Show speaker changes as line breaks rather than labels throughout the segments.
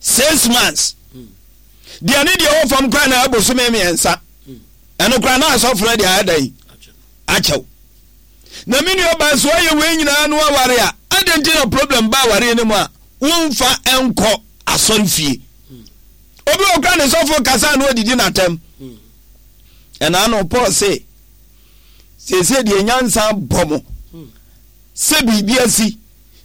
6 months deɛ ne deɛ wɔ fam koraa na ɛbosome 3. Ɛno koraa na asɔfo no de ayɛ dɛn akyɛw. Na me nua baa so ayɛ wei nyinaa no aware a, adɛn nti na problem ba awareɛ no mu a womfa nkɔ asɔre fie? Obi wɔ kora ne sɔfo kasa na ɔdidi n'atɛm. Ɛna no Paul se seesei deɛ nyansa bɔ mo sɛ biribi asi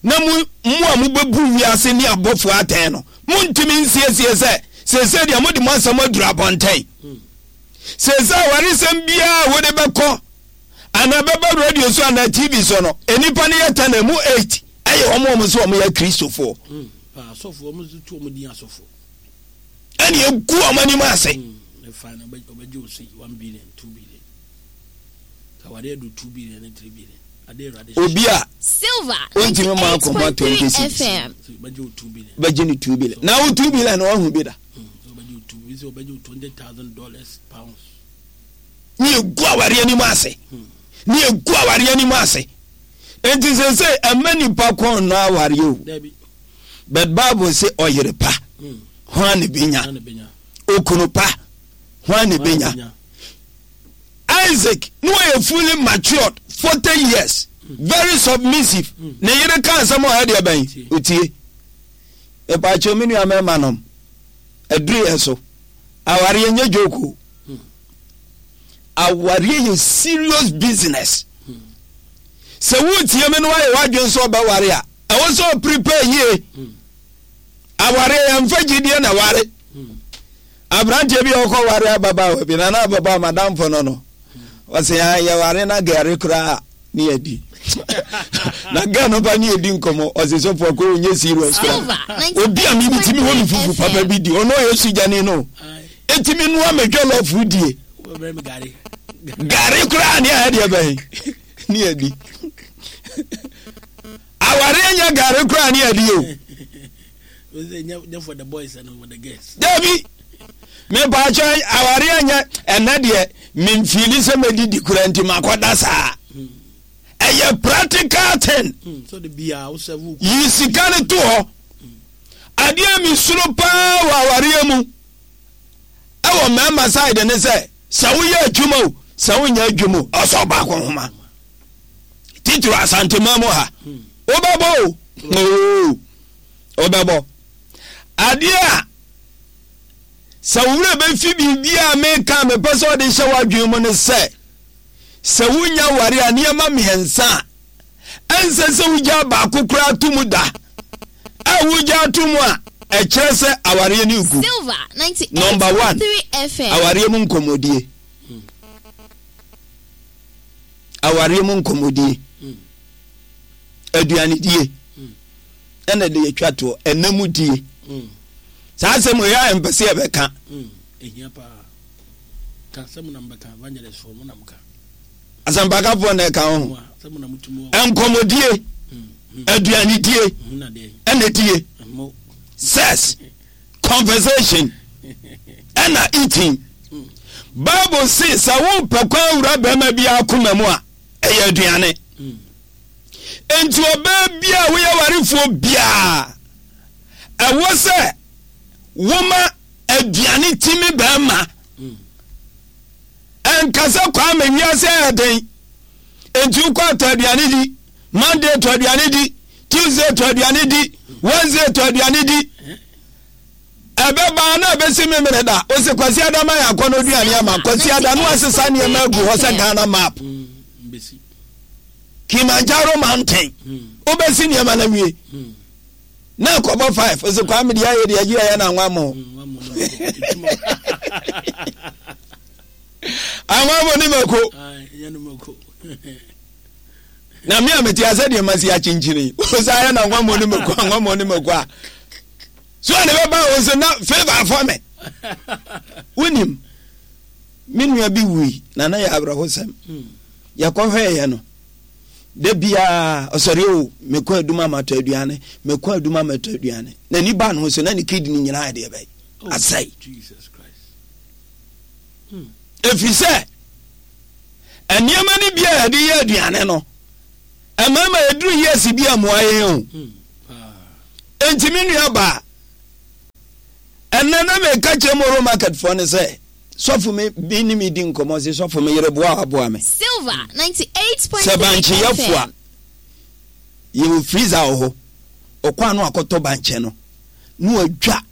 na mo mo a mobɛbu wiase ne abɔfoɔ atɛn no, montumi nsiesie sɛ seesei deɛ mode mo asɛm aduru abɔnten. Seesei awaresɛm biara a wode bɛkɔ anaa bɛba radio so anaa TV so no, nnipa no yɛ 10 a, emu 8 ɛyɛ wɔn a wɔn sɛ wɔn yɛ Kristofoɔ.
Asɔfo, wɔn nso tu wɔn din asɔfo.
Ɛna egu wɔn anim ase.
Ɛfa no ɔbɛgye o sei 1 billion, 2 billion. Awade adu 2 billion ne 3 billion. Ade Awurade.
Obi a
Silver
ontumi ma akɔma 20
98.3
cedis.
FM.
Ɔbɛgye o 2 billion.
Bɛgye ne 2 billion na wo 2 billion na wahu bi da.
Ɔbɛgye o two bi sɛ ɔbɛgye o $20,000, pounds.
Ne egu awareɛ anim ase, ne egu awareɛ anim ase. Nti sɛ ɛmɛ nipa kɔn no awareɛ o.
Dabi.
But Bible sɛ ɔyere pa hwan ne benya?
Na ne benya.
Okunu pa hwan ne benya? Isaac ne wɔyɛ fully matured, 40 years, very submissive. Ne yere ka asɛm a ɔyɛ deɛ bɛn otie. Mepaakyɛw, me nua mɛma nom aduru yɛ so, awareɛ nyɛ joke o. Awareɛ yɛ serious business. Sɛ wotie me no ayɛ w'adwene sɛ ɔbɛware a, ɛwɔ sɛ ɔprepare yie. Awareɛ yɛmfa gyidie na ware. Aberanteɛ bi a ɔkɔ ware ababaawa bi na na ababaawa madamfo no, ɔsɛ yɛware na gɛre koraa ne yɛdi na gɛ no ba ne yɛdi nkɔmmɔ. Ɔsɛ sɔfo akɔ ɔnyɛ serious koraa. Obi a mimi timi hɔ no fufu papa bi di, ɔno ɔyɛ sugyani no, ɛtumi noa me jollof die.
Wɔbɛbrɛ mi gari.
Gare koraa ne ayɛ deɛ bɛn ne yɛdi. Awareɛ nyɛ gare koraa ne yɛdi o.
Wɔsɛ nyɛ for the boys and for the girls.
Dabi, mepaakyɛ, awareɛ nyɛ ɛnɛ deɛ memfiili sɛ mɛdidi kora nti makɔda saa. Ɛyɛ practical thing.
So de bia wo serve wo.
Yi sika no to hɔ. Adeɛ a mesuro paa wɔ awareɛ mu ɛwɔ mmarima side ne sɛ sɛ woyɛ adwuma o, sɛ wonyɛ adwuma o, ɔsɛ ɔbaako nhoma titiri Asantema mu ha wobɛbɔ o, oo wobɛbɔ. Adeɛ a sɛ wo werɛ bɛfi biribi a meka a mepɛ sɛ ɔde hyɛ w'adwene mu ne sɛ sɛ wonya ware a, nneɛma 3 a ɛnsɛ sɛ wogyaa baako koraa to mu da a wogyaa to mu a ɛkyerɛ sɛ awareɛ no gu.
Silver
Number one,
98.3 FM.
awareɛ mu nkɔmmɔdie. Awareɛ mu nkɔmmɔdie, aduanedie, ɛna de yɛtwa toɔ ɛnam die. Saa asɛm yɛ a mpɛ sɛ yɛbɛka.
Ehia paa. Ka sɛ mo na mbɛka, evangelist fo mo na mo ka.
Asɛmpakafoɔ na ɛka ho.
Mo a sɛ mo na mo tumi wɔ.
Nkɔmmɔdie, aduanedie,
Mo na deɛ.
ɛna die.
Mo.
Sex, conversation, ɛna eating. Bible se sɛ wopɛ kwan wura bɛrima bi akoma mu a, ɛyɛ aduane. Enti ɔbaa bi a woyɛ warefoɔ biaa, ɛwɔ sɛ woma aduane timi bɛrima. Ɛnkasa Kwame wiase ayɛ den enti wokɔ atɔ aduane di. Monday tɔ aduane di, Tuesday tɔ aduane di, Wednesday tɔ aduane di, ɛbɛba na ɛbɛsi memene da ɔsɛ Kwasi Adama yɛ akɔ no aduane ama Kwasi Ada no asesa nneɛma agu hɔ sɛ Ghana map.
Mbesi.
Kilimanjaro mountain. Wobɛsi nneɛma no awie na akɔbɔ 5 ɔsɛ Kwame deɛ ayɛ deɛ agye ayɛ na anwa mo.
Wa mo na mo.
Anwa mo ne mako.
Ai, nyɛ no mako.
Na me a mete asɛ deɛ masi akyinkyini wo sɛ ayɛ na anwa mo ne mako, anwa mo ne mako a so a ne bɛba wo so na favor afɔ me. Wonim me nua bi wui na na yɛ awerɛhosɛm. Yɛkɔhwɛeɛ no, da biaa ɔsɔre o, mekɔ aduma matɔ aduane, mekɔ aduma matɔ aduane. Na ni ba no ho so na ne kidney nyinaa yɛ deɛ bɛyɛ asɛe.
Jesus Christ.
Ɛfiri sɛ nneɛma no bi a yɛde yɛ aduane no, mmarima yɛduru years bi a mmoa yɛn o. Enti me nua baa, Ɛnɛ na meka kyerɛ Moro market foɔ no sɛ sɔfo me bi ne me di nkɔmmɔ se sɔfo me yere boa aboa me.
Silver 98.3
Sɛ bankye yɛ
FM.
fo a yɛwɔ freezer wɔ hɔ. Ɔkɔ ano akɔtɔ bankye no na wadwa.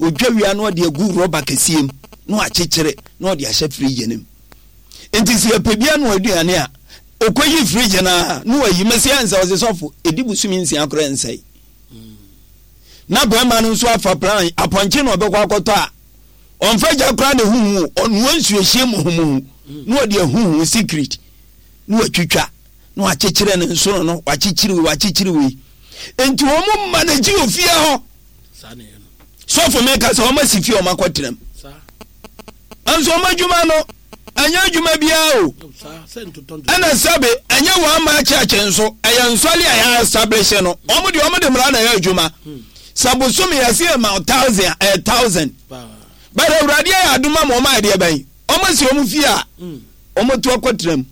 Ɔdwa wie a na ɔde agu rɔba kɛseɛ mu na wakyekyere na ɔde ahyɛ fridge no mu. Nti sɛ yɛpɛ bi anoa aduane a ɔkɔyi fridge no a na wayi. Mese ɛnsɛ ɔse sɔfo ɛdi bosome nsia koraa ɛnsɛe. Na bɛrima no nso afa plan apɔnkye na ɔbɛkɔ akɔtɔ a ɔmfa gya koraa na ehuhu ɔnoa nsuohyie muhumuhu na ɔde ahuhu secret na watwitwa na wakyekyere ne nsono no wakyekyere wei wakyekyere wei nti wɔn mma no gye ofie hɔ sɔfo mi ka sɛ wɔn asi fie wɔn akɔtena mu nso wɔn adwuma no ɛnyɛ adwuma biara o ɛna sɛbe ɛnyɛ wɔn ama akyɛkyɛ nso ɛyɛ nsɔle a yɛ establish no wɔn deɛ wɔn de mmara na ɛyɛ adwuma sɛ bosome yɛsi yɛ ma thousand a ɛyɛ thousand bɛrɛ awurade ayɛ adum ama wɔn ayɛ deɛ bɛn wɔn asi wɔn fie a wɔn to akɔtena mu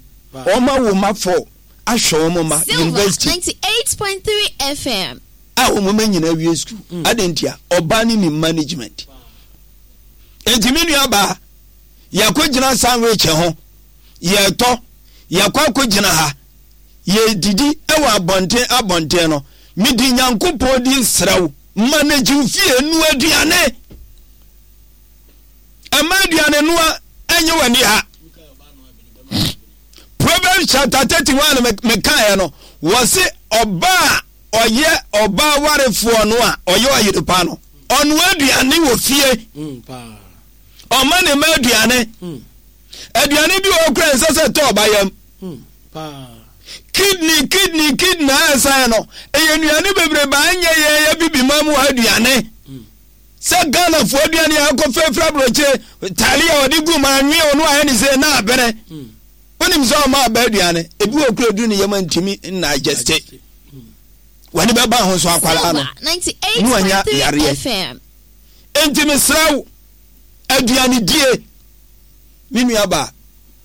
wɔn awo ma fɔ ahwɛ wɔn ma
Silver
university
98.3 FM.
a wɔn mma nyinaa wie sukuu adantia ɔbaa ne ne management nti me nua baa. Yɛakɔgyina sandwich ho, yɛretɔ, yɛakɔ akɔgyina ha, yɛredidi wɔ abɔnten abɔnten no, mede Nyankopɔn din srɛ wo, manage wo fie, noa aduane. Ɛma aduane noa ɛnyɛ w'ani ha. Proverbs chapter 31 mekaeɛ no, wɔse ɔbaa a ɔyɛ ɔbaa warefoɔ no a ɔyɛ ɔyere pa no, ɔnoa aduane wɔ fie. Mm, Ɔma ne mma aduane. Aduane bi wɔ hɔ koraa ɛnsɛ sɛ ɛtɔ ɔba yam. Kidney, kidney, kidney a ɛsan no, ɛyɛ nnuane bebrebe a ɛnyɛ yɛn yɛ bibi ma mu aduane. Sɛ Ghanafoɔ aduane a ɛkɔ fɛfɛ aburokyire, talia a ɔde gu mu anwe ɔno ayɛ ne sɛ na abene. Wonim sɛ ɔma aba aduane, ebi wɔ kura duru ne yam a ntumi nna adjeste. W'ani bɛba ho so akwadaa no,
Silver
ne wanya
98.3
yareɛ.
FM.
Enti mesrɛ wo, aduanedie, me nuabaa,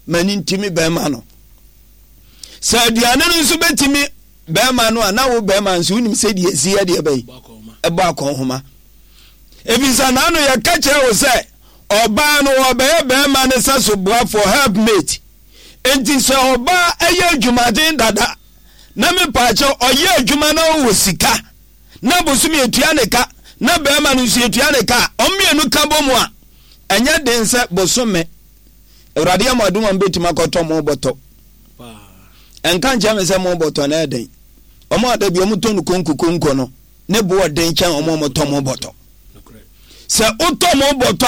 m'ani nti me bɛrima no. Sɛ aduane no nso bɛtumi bɛrima no a, na wo bɛrima nso wonim sɛ deɛ ɛsi yɛ deɛ bɛyi ɛbɔ akɔnhoma. Ɛfiri sɛ n'ano yɛka kyerɛ wo sɛ ɔbaa no ɔbɛyɛ bɛrima no sɛ so boafoɔ helpmate. Enti sɛ ɔbaa ɛyɛ adwumaden dada na mepaakyɛ ɔyɛ adwuma na ɔwɔ sika na bosome yɛtua ne ka na bɛrima no nso yɛtua ne ka a, wɔn mmienu ka bɔ mu a, ɛnyɛ den sɛ bosome Awurade yɛ mo adom a mobɛtumi akɔtɔ mo bɔtɔ. Ɛnka nkyerɛ me sɛ mo bɔtɔ no ɛden. Wɔn a da bi wɔn tɔ no konko konko no, ne bo ɔden kyɛn wɔn a wɔtɔ mo bɔtɔ. Sɛ wotɔ mo bɔtɔ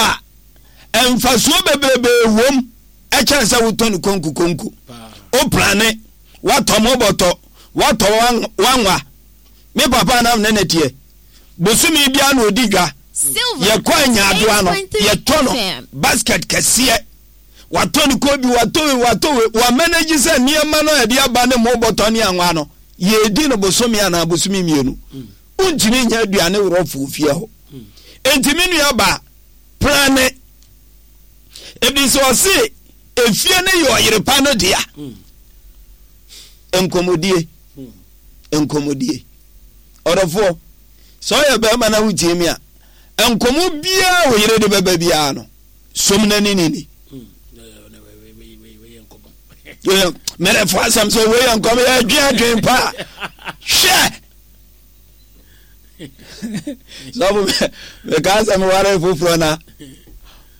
a, mfasoɔ bebrebe wom ɛkyɛn sɛ wotɔ no konko konko. Woplane, woatɔ mo bɔtɔ, woatɔ wanwa, Me papa na ne ne teɛ. Bosome biara na ɔdi dwa. Yɛkɔ anyaadoa no, yɛtɔ no basket kɛseɛ. Watɔ no kobi, watɔ wei, watɔ wei. Wamanage sɛ nneɛma no a yɛde aba ne mo bɔtɔ ne anwa no, yɛredi no bosome anaa bosome mmienu. Wontumi nyɛ aduane worɔfo fie hɔ. Enti me nua ba, plane. Ebi sɛ ɔse efie no yɛ ɔyere pa no dea. Nkɔmmɔdie. Nkɔmmɔdie. Ɔdɔfoɔ, sɛ ɔyɛ bɛrima na wotie mi a, nkɔmmɔ biara wo yere de bɛba biara no, som na ne nini. Mɛrɛfo asɛm sɛ wei yɛ nkɔm yɛ adwen adwen paa. Hwɛ! Sɔfo mekaa sɛ meware foforɔ na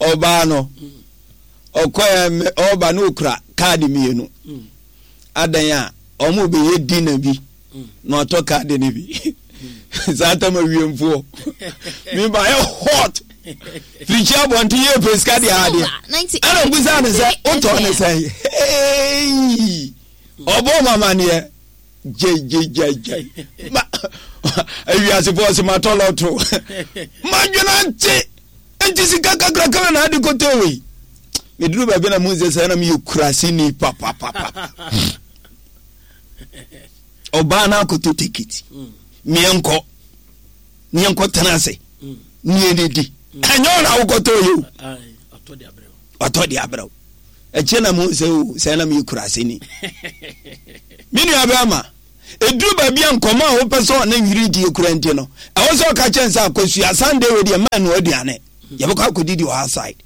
ɔbaa no ɔkɔɛ ɔba na ɔkura kaade mmienu. Adan a wɔn bɛyɛ dinner bi na ɔtɔ kaade no bi saa tam awiemfoɔ meba yɛ hot firikyi abɔnten yɛ pɛ sika deɛ adeɛ ɛna mbusa ne sɛ wotɔ ne sɛn hei ɔbɔ mamaneɛ gyegyegyegye ma awiasefoɔ sɛ matɔ lɔto madwena nte nti sika kakrakra na ade kɔtɔ wei meduru baabi na mu sɛ sɛ na meyɛ kuraseni papapapa ɔbaa no akɔtɔ tekiti meɛnkɔ meɛnkɔ tena ase neɛdidi ɛnyɛ ɔna wokɔtɔ yɛ o ɔtɔ de abrɛ wo ɛkyɛ na mu sɛ o sɛ na meyɛ kuraseni me nua bɛrima. Ɛduru baabi a nkɔmmɔ a wopɛ sɛ ɔne yere die kura nti no, ɛwɔ sɛ ɔka kyɛn sɛ akɔsua Sunday wei deɛ mmaa nnoa aduane. Yɛbɛkɔ akɔdidi wɔ outside.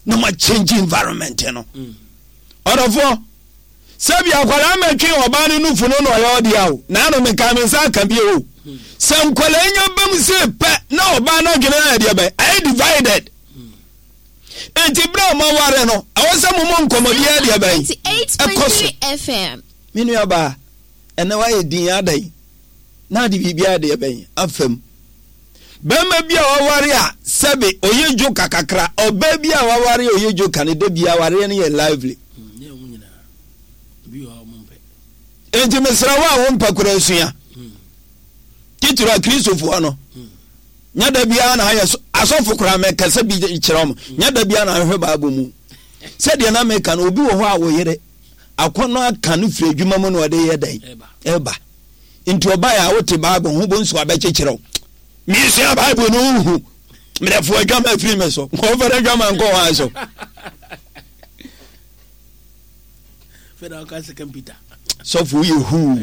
Na ma change environment no. Ɔdɔfoɔ, sɛ bi akwadaa mɛtwe ɔbaa no nufu no na ɔyɛ ɔdeɛ o, na ano meka me nsa aka bi o. Sɛ nkwadaa nya bam se pɛ na ɔbaa no adwene ayɛ deɛ bɛn, ayɛ divided. Enti berɛ a moaware no, ɛwɔ sɛ momɔ nkɔmmɔdi deɛ bɛn ɛkɔ so. Me nuabaa, ɛnɛ woayɛ din adɛn na ade biribiara deɛ bɛn afam. Bɛrima bi a waware a sɛbe ɔyɛ dwoka kakra, ɔbaa bi a waware a ɔyɛ dwoka no, da bi awareɛ no yɛ lively. Enti mesrɛ wo a wompɛ koraa sua. Titiri Akristofoɔ no. Nyɛ da biara na ayɛ so asɔfo koraa mɛkasa bi kyerɛ wɔn. Nyɛ da biara na ahwehwɛ Bible mu. Sɛdeɛ na meka no, obi wɔ hɔ a wo yere akɔnnɔ aka no firi adwuma mu na ɔde yɛ dɛn? Ɛba. Nti ɔbaeɛ a wote Bible ho bonsu abɛkyekyerɛ wo. Mesua Bible no wohu. Mmerɛfo adwama afiri me so. Nkɔmfɛre adwama nkɔ hɔ so. Sɔfo woyɛ huu.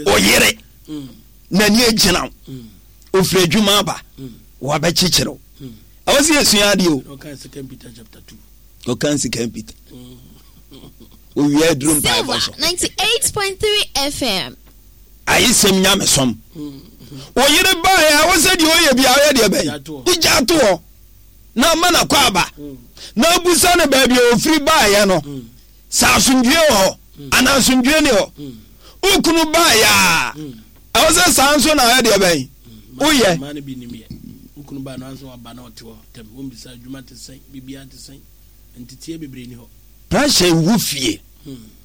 Oyere. N'ani agyina wo. Ofiri adwuma aba. Wabɛkyekyere wo. Ɛwɔ sɛ yɛsua adeɛ o. Ɔka Second Peter. Owia aduru mpaebɔ so.
98.3 FM.
Ayesɛm nyamesom. Oyere baeɛ a, ɛwɔ sɛ deɛ ɔyɛ bia ɔyɛ deɛ bɛn. Wogya to hɔ na ama no akɔ aba. Na abusa no baabi a ofiri baeɛ no. Sɛ asomdwoeɛ wɔ hɔ anaa asomdwoeɛ ni hɔ. Wo kunu baeɛ a, ɛwɔ sɛ saa nso na ɔyɛ deɛ bɛn. Woyɛ.
Mmaa no bi nim yɛ. Wo kunu baa no ansa waba na ɔte hɔ tɛm. Wommisa adwuma te sɛn, biribiara te sɛn. Nteteɛ bebree ni hɔ.
Pressure wɔ fie.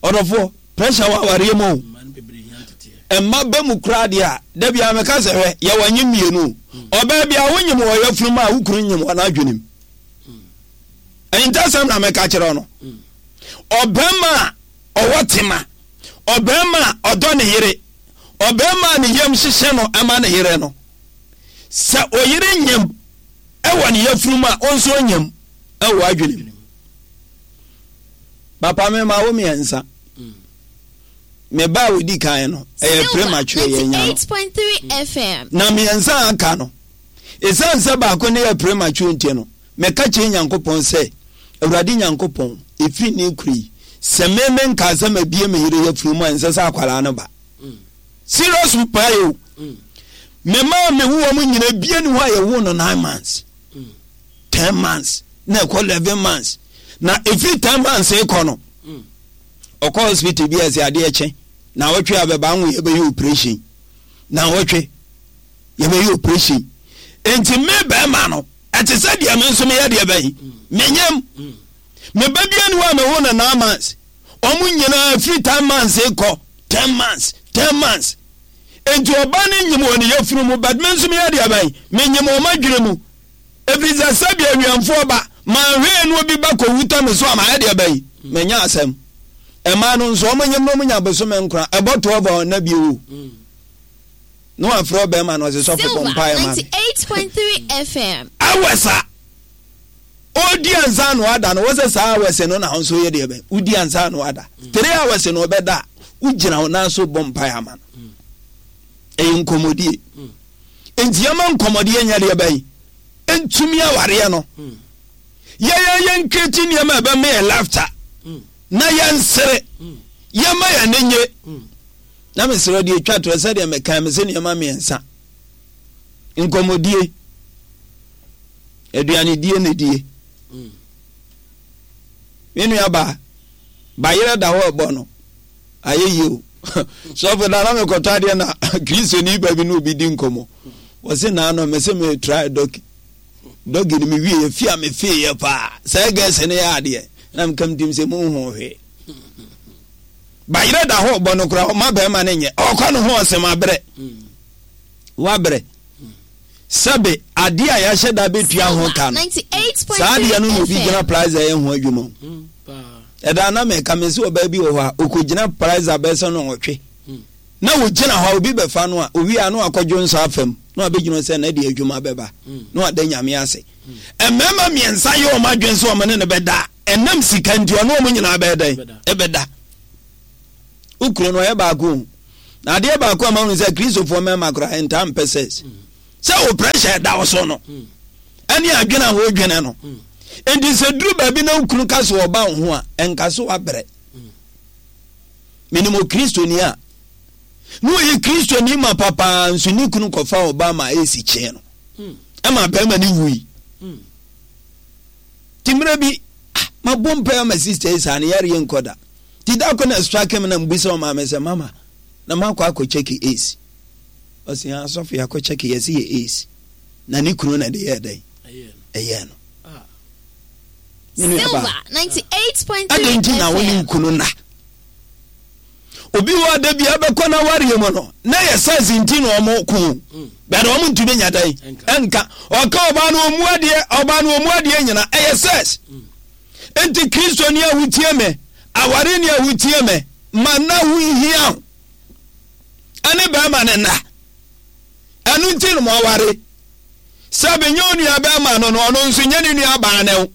Ɔdɔfoɔ, pressure wɔ awareɛ mu o.
Mmaa no bebree hia nteteɛ.
Mma ba mu koraa deɛ a, da biara meka sɛ hwɛ, yɛwɔ nye mmienu o. Ɔbaa biara wonyim wɔ yafunu mu a, wo kunu nyim wɔ n'adwenem. Ahintasɛm na meka kyerɛ wo no. Ɔbarima a ɔwɔ tema, ɔbarima a ɔdɔ ne yere, ɔbarima a ne yam hyehye no ma ne yere no, sɛ oyere nyem wɔ ne yafunu mu a, wo nso onyem wɔ w'adwene mu. Papa me ma wo mmiɛnsa. Me ba a odi kan no, ɛyɛ premature yɛn nya no. Na mmiɛnsa a aka no, ɛsiane sɛ baako no yɛ premature nti no, Meka kyerɛ Nyankopɔn sɛ, Awurade Nyankopɔn, ɛfiri nnɛ rekura yi, sɛ me menkaa sɛ mabie me yere yafunu mu a, ɛnsɛ sɛ akwadaa no ba. Serious mpaeɛ o. Me mma a mewo wɔn nyina bie ne hɔ a yɛwo no nine months, 10 months, na ɛkɔ 11 months. Na ɛfiri 10 months rekɔ no, ɔkɔ hospital bi a ɛsɛ adeɛ kye, na wɔtwe abɛba anwo yɛbɛyɛ operation. Na wɔtwe yɛbɛyɛ operation. Enti me bɛrima no, Ɛte sɛ deɛ me nso meyɛ deɛ bɛn? Menyam. Me ba bia ni hɔ a mewo no nine months. Wɔn nyinaa firi ten months kɔ 10 months, 10 months. Enti ɔba no nyim wɔ ne yafunu mu, but me nso meyɛ deɛ bɛn? Menyim wɔ m'adwene mu. Ɛfiri sɛ sɛdeɛ awiɛmfoɔ ba, manhwɛɛ no obi ba kɔwu tɔ me so a mayɛ deɛ bɛn? Manya asɛm. Mmaa no nso, wɔn nyim no wɔn nya bosome nkora, ɛbɔ 12 a ɔnna bio o. Na wafrɛ ɔbɛrima no ɔsɛ sɔfo bɔ mpaeɛ ma me.
98.3 FM.
Hours a ɔredi ansa na wada no wɔsɛ saa hours no na nso yɛ deɛ bɛn wodi ansa na wada 3 hours na ɔbɛda a wogyina wo nan so bɔ mpaeɛ ama no ɛyɛ nkɔmmɔdie nti yɛma nkɔmmɔdie nyɛ deɛ bɛn ntumi awareɛ no yɛyɛ yɛn kreti nneɛma ɛbɛma yɛ laughter na yɛnsere yɛma yɛn ani nye Na mesrɛ deɛ ɛtwa toɔ sɛdeɛ mekae me sɛ nneɛma mmiɛnsa nkɔmmɔdie aduanedie na die me nua baa bayerɛ da hɔ ɛbɔ no ayɛ yie o sɔfo da na mekɔtɔ adeɛ na kristoni ba bi ne obi di nkɔmmɔ wɔse naano me se me try dɔki dɔgi no mewie yɛ fi a mefeeɛ paa sɛ gɛse no yɛ adeɛ na mekam tim sɛ monhu hwee Bayerɛ da hɔ ɔbɔ no koraa ɔma bɛrima no nyɛ ɔkɔ ne ho ɔsɛm abrɛ wabrɛ sɛbe adeɛ a yɛahyɛ da bɛtua ho ka no saa adeɛ no na obi gyina plaza yɛ ho adwuma ɛda na mɛka me sɛ ɔbaa bi wɔ hɔ a ɔkɔgyina plaza bɛsɛ no ɔtwe na wɔgyina hɔ a obi bɛfa no a owie a na wakɔdwo nsa afam na wabɛgyina sɛ na deɛ adwuma bɛba na wada nyame ase mmarima mmiɛnsa yɛ wɔn adwene sɛ wɔn ne no bɛda Ɛnam sika nti ɔne wɔn nyinaa bɛyɛ dɛn? Ɛbɛda. Wo kunu no ɔyɛ baako o. Na adeɛ baako a mahunu sɛ Kristofoɔ mmarima koraa ntaa mpɛ sex. Sɛ wo pressure ɛda wo so no, ɛne adwene a wodwene no. Enti sɛ duru baabi na wo kunu ka sɛ ɔba wo ho a, ɛnka so wabrɛ. Menim Okristoni a, na ɔyɛ Kristoni ma papaa nso ne kunu kɔfa ɔba ma ɛsi kyee no. Ɛma bɛrima no wui. Nti mmerɛ bi, ah, mabɔ mpaeɛ ama sister yi saa ne yareɛ nkɔ da. Nti da ko na strike me na mebisa ɔmaame sɛ, mama, na makɔ akɔ check AIDS. Ɔse, ah, asɔfo yɛakɔ check yɛse yɛ AIDS. Na ne kunu na ɛde yɛɛ dɛn? Ɛyɛɛ no. Me nua baa, adɛn nti na wo ne wo kunu nna? Obi wɔ da bi abɛkɔ n'awareɛ mu no, na yɛ size nti na ɔmo ko. Bɛde ɔmo ntumi nya dɛn? Ɛnka. Ɔka ɔbaa no ɔmu adeɛ, ɔbaa no ɔmu adeɛ nyina, ɛyɛ sex. Enti Kristoni a wotie me, awareni a wotie me, ma nna ho nhia wo. Ɛne bɛrima no nna. Ɛno nti no mo aware. Sɛ benyɛ onua bɛrima no no, ɔno nso nyɛ ne nua baa no.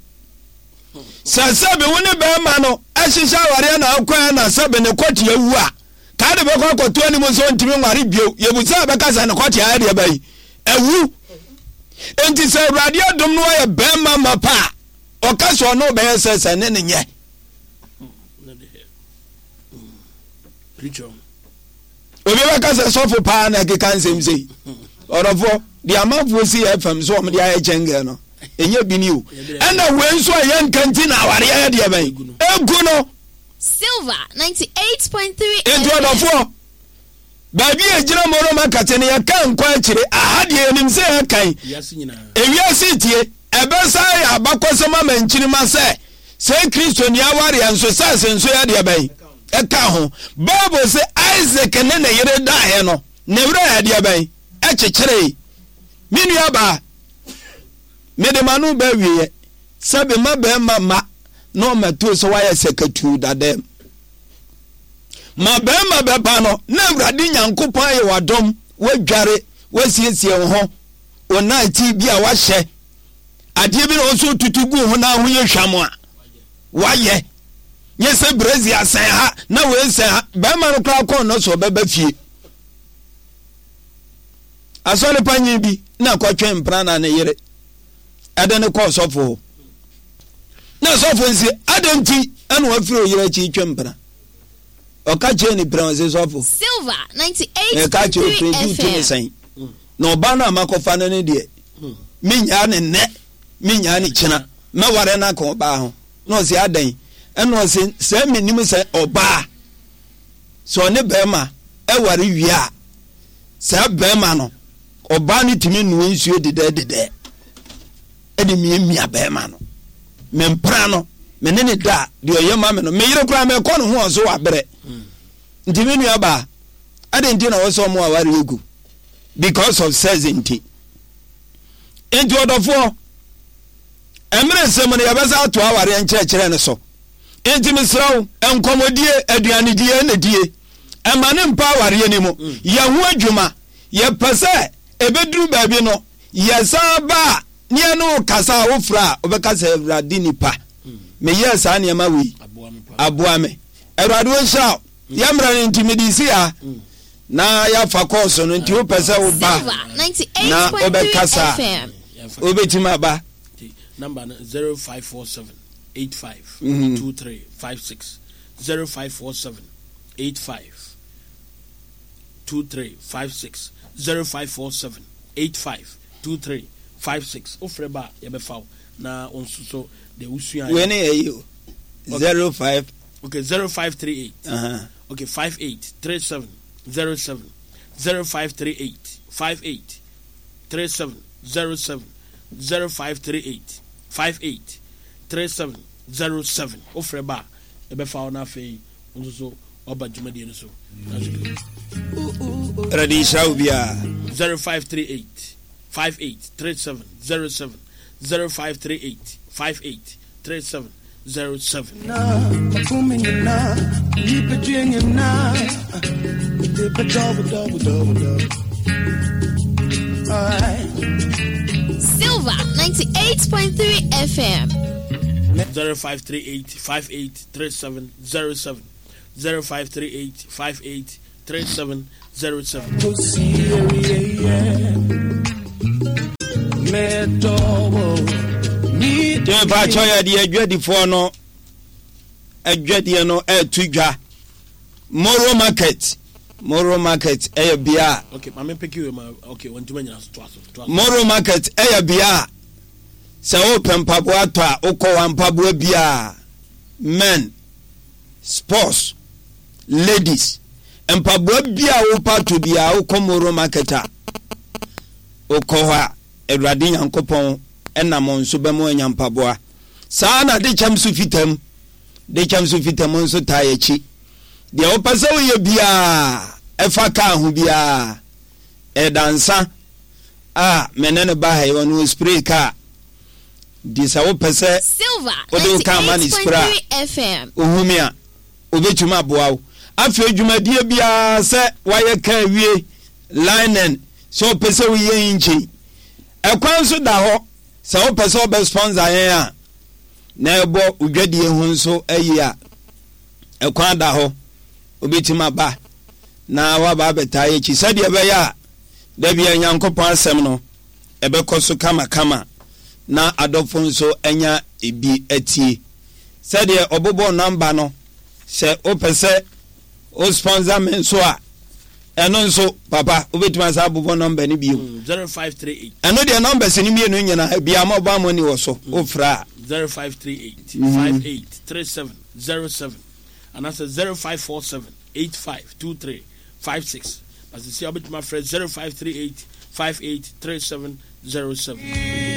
Sɛ sɛbe wo ne bɛrima no ahyehyɛ awareɛ na akɔɛ na sɛbe ne kɔte awu a, kaa de bɛkɔ akɔto anim sɛ ɔntumi nware bio. Yɛbu sɛ ɛbɛka sɛ ne kɔte ayɛ deɛ bɛyi awu. Enti sɛ Awurade adom no ayɛ bɛrima ma pa a, ɔka sɛ ɔne ɔbɛyɛ sɛ sɛ ne ne nyɛ. Obi bɛka sɛ sɔfo paa na ɛkeka nsɛm sei. Ɔdɔfoɔ, deɛ amanfoɔ si yɛ fam so wɔn de ayɛ kyɛngɛn no, ɛnyɛ bi ni o. Ɛna wei nso a yɛnka nti na awareɛ yɛ deɛ bɛn? Egu no.
Silver 98.3
Nti ɔdɔfoɔ, baabi a ɛgyina Moroma kate no yɛka nkɔ akyire, aha deɛ yɛnim sɛ yɛkan. Ewiase tie. Ɛbɛsan ayɛ abakɔsɛm ama nkyirimma sɛ, sɛ Kristoni awareɛ nso, sex nso yɛ deɛ bɛn? Ɛka ho. Bible se Isak ne ne yere daeɛ no, ne werɛ yɛ deɛ bɛn? Ɛkyekyeree. Me nuabaa, mede m'ano ba awieɛ sɛ bema bɛrima mma na ɔmmɛtoo sɛ woayɛ sɛkatuu dadaam. Ma bɛrima bɛba no, na Awurade Nyankopɔn ayɛ w'adom, woadware, woasiesie wo ho, wo night bi a wahyɛ adeɛ bi na ɔnso tutu gu ho na ho yɛ hwam a wayɛ nyɛ sɛ brezi asɛn ha na wei sɛn ha bɛrima no koraa kɔn no so ɔbɛba fie asɔre panyin bi na kɔtwe mpena na ne yere ɛde ne kɔɔ sɔfo hɔ na sɔfo nsi adɛn nti ɛna wafiri oyere akyi twe mpena ɔka kyerɛ ne pira ɔse sɔfo meka kyerɛ ofiri nti wotumi sɛn Na ɔbaa no a makɔfa no no deɛ, menyaa no nnɛ, menyaa no kyena, mɛware no aka ɔbaa ho. Na ɔse, adɛn? Ɛna ɔse, sɛ menim sɛ ɔbaa, sɛ ɔne bɛrima ɛware wie a, saa bɛrima no, ɔbaa no tumi noa nsuo dedɛɛ dedɛɛ ɛde miamia bɛrima no. Mempra no, me ne ne da a, deɛ ɔyɛ ma me no, me yere koraa mekɔ ne ho ɔso wabrɛ. Nti me nua baa, adɛn nti na wɔsɛ ɔmo aware gu? Because of sex nti. Nti ɔdɔfoɔ, mmerɛ nsɛm no yɛbɛsa ato awareɛ nkyerɛkyerɛ no so. Nti mesrɛ wo, nkɔmmɔdie, aduanedie ɛna die. Ɛma ne mpa awareɛ no mu. Yɛ ho adwuma. Yɛpɛ sɛ ɛbɛduru baabi no, yɛsan ba a, ne yɛne wo kasa a wofrɛ a, wobɛka sɛ Awurade nipa, meyɛɛ saa nneɛma wei, aboa me. Awurade ɔnhyira wo. Yɛ mmerɛ no nti mede si ha na yɛafa kɔɔso no nti wopɛ sɛ woba na wobɛkasa a wobɛtumi aba.
Number no 0547 85 23 56 0547 85 23 56 0547 85 23 56 wofrɛ ba a yɛbɛfa wo na wo nso so deɛ wosua
wei ne yɛyi o 05
Okay, 0538. Uh-huh. Okay, 58 37 07. 0538 58 37 07. 0538 58 37 07. Ofrɛ ba a ɛbɛfa wo no afei wo nso so waba dwumadie no so.
Awurade nhyira wo biara.
0538 58 37 07. 0538 58 37 07.
Silver 98.3 FM.
0538 58 37 07. 0538 58 3707.
Mepakyɛ yɛde adwadifoɔ no adwadeɛ no ɛreto dwa Moro market Moro market ɛyɛ bea a
Okay, maame mpeke wei ma okay wɔntumi anyina so toa so toa so.
Moro market ɛyɛ bea a sɛ wopɛ mpaboa tɔ a wokɔ wa mpaboa biara men sports ladies mpaboa bi a wopɛ atɔ biara wokɔ Moro market a wokɔ hɔ a Awurade Nyankopɔn ɛnam wɔn so bɛma anya mpaboa saa na de kyɛm so fitam de kyɛm so fitam nso taa akyi deɛ wopɛ sɛ woyɛ biara ɛfa kaa ho biara ɛdansa a me ne no ba ha yi ɔno spray kaa nti sɛ wopɛ sɛ wode wo kaa ma ne spray a wohu me a obɛtumi aboa wo afei dwumadie biara sɛ wayɛ kaa wie linen sɛ wopɛ sɛ woyɛ engine ɛkwan nso da hɔ sɛ wopɛ sɛ wobɛ sponsor yɛn a na ɛbɔ wodwadie ho nso ayi a ɛkwan da hɔ wobɛtumi aba na waba abɛtaa yɛkyi sɛdeɛ ɛbɛyɛ a Da biara Nyankopɔn asɛm no ɛbɛkɔ so kamakama na adɔfo nso anya bi atie. Sɛdeɛ ɔbobɔɔ number no, sɛ wopɛ sɛ wo sponsor me nso a, ɛno nso papa wobɛtumi asa abobɔ number no bio.
0538.
Ɛno deɛ numbers no mmienu nyinaa bia mobile money wɔ so wofrɛ a.
0538 58 37 07 anaasɛ 0547 85 23 56 na sisi a wobɛtumi afrɛ 0538 58 37 07.